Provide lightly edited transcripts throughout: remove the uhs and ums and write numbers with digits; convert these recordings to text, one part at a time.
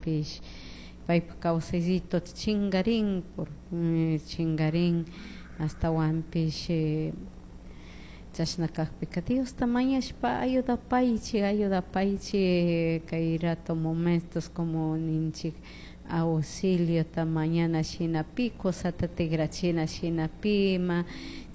Astawanpish paypak kawsaysito chingarin, por chingarin, astawanpish chashna kakpika Diosta mañashpa ayudapaychik, ayudapaychik kay rato momentos como ninchik auxiliota mañana shina pi cosata tigrachina shina pi ima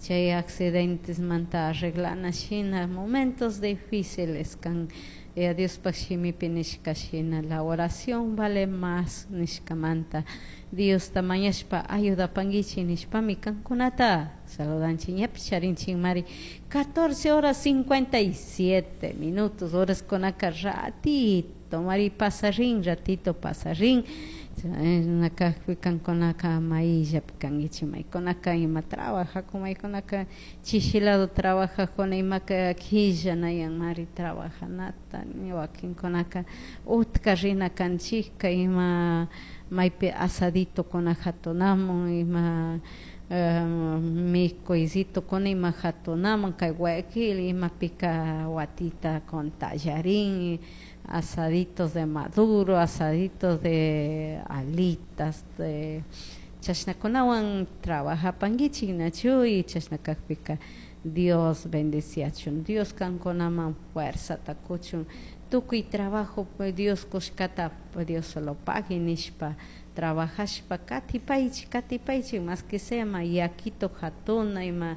chay accidentesmanta arreglana shina momentos difíciles kan. Yaya Diospak shimipi nishka shina la oración vale más nishkamanta Diosta mañashpa ayudapanguichik nishpami kankunata saludanchik. Ñapish charinchikmari 14 horas 57 minutos, horas kunaka ratito mari pasarin, ratito pasarin. Kakpi kankunaka mayllapi kankichik, maykunaka ima trabajakun, maykunaka chishilado trabajakuna, imaka killanayanmari trabajanata, wakinkunaka utka rina kanchikka ima maypi asaditokuna hatunamun, ima mikuysitokuna ima hatunamun kay Guayaquil imapika watita con tallarín, asaditos de maduro, asaditos de alitas, de chashnakunawan trabajapankichik nachu. Y chashna kakpika Dios bendeciachun, Dios kankunaman fuerzata kuchun, tukuy trabajo Dios kushkata Dios solo pagui nishpa trabajashpa katipaychik, katipaychik, más que sea ma yakito hatuna ima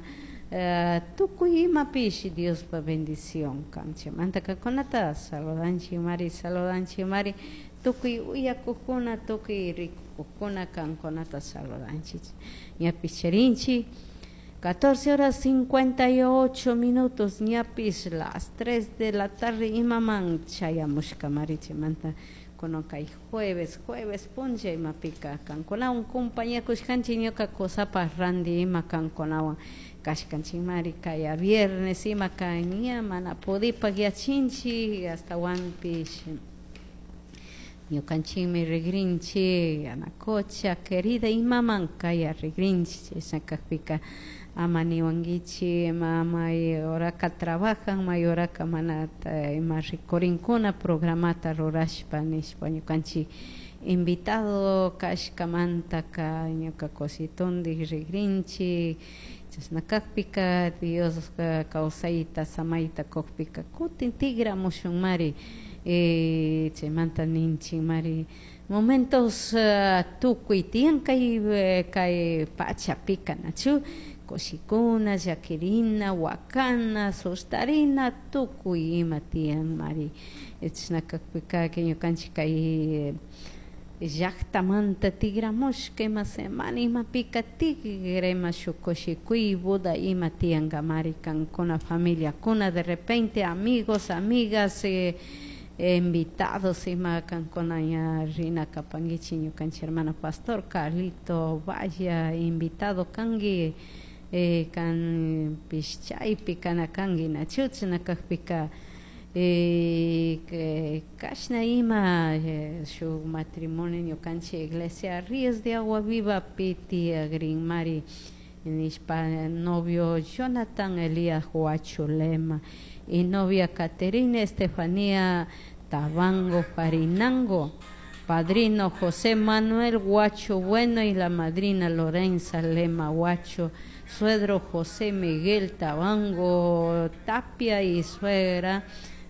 tukuy imapish Diospa bendición kan. Chaymanta kankunata saludanchik mari, saludanchik mari, tukuy uyakukuna, tukuy rikukuna kankunata saludanchik. Ñapish charinchik 14 horas 58 minutos, ñapish las 3 de la tarde imaman chayamushkamari. Chaymanta kunan kay jueves, jueves punlla imapika kankunawan compañakushkanchik, ñuka kusapaj randi ima kankunawan kashkanchikmari. Kaya viernes imaka ña mana pudipak yachinchik, astawanpish ñukanchikmi rigrinchik Yanacocha querida imaman kaya rigrinchik. Chashna kakpika ama niwankichik ima may horaka trabajan, may horaka mana ima rikurinkuna programata rurashpa nishpa. Ñukanchik invitado kashkamantaka ñuka cositundik rigrinchik. Chashna kakpika Dios kawsayta samayta kukpika kutin tigramushunmari. Chaymanta ninchikmari momentos tukuy tiyan kay kay pachapika nachu, kushikuna, llakirina, wakana, sustarina, tukuy ima tiyan mari. Chashna kakpika ñukanchik kay llaktamanta tigramushka ima semana imapika tigra ima shuk kushikuy boda ima tiyankamari kankuna familiakuna, de repente amigos, amigas, invitados ima kankuna ña rina kapankichik. Ñukanchik hermano pastor Carlito Valla invitado kanki, kanpish chaypi kana kanki nachu. Chashna kakpika kashna ima shuk matrimonio ñukanchik iglesia Ríos de Agua Viva pi tiyagrinmari nishpa, novio Jonathan Elías Huacho Lema y novia Caterina Estefanía Tabango Farinango, padrino José Manuel Huacho Bueno y la madrina Lorenza Lema Huacho, suegro José Miguel Tabango Tapia y suegra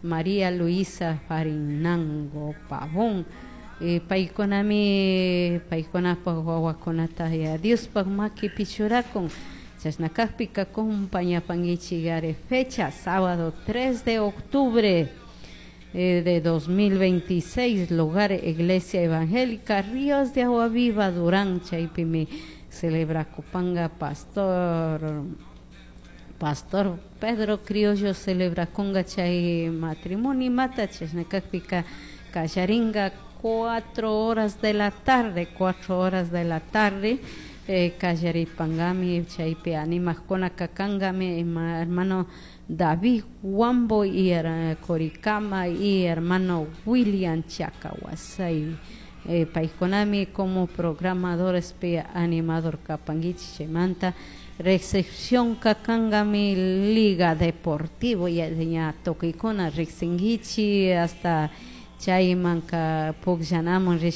María Luisa Farinango Pavón. Paykunami paykunapak wawakunata ya Diospak makipi churakun. Chashna kakpika compañapankichik ari fecha sábado 3 de octubre de 2026, lugar Iglesia Evangélica Ríos de Agua Viva, Durán. Chaypimi celebra kupanga pastor Pedro Criollo celebra kunga chay matrimonio mata. Chashna kakpika kallaringa 4 horas de la tarde, 4 horas de la tarde, kallaripangami chaypi animajkuna kakangami ima hermano David Huambo y Coricama y hermano William Chacahuasay. Paykunami como programadores pi animador kapankichik. Chaymanta recepción kakangami Liga Deportivo ya ña tukuykuna riksinkichik hasta chaymanka pukllanamun.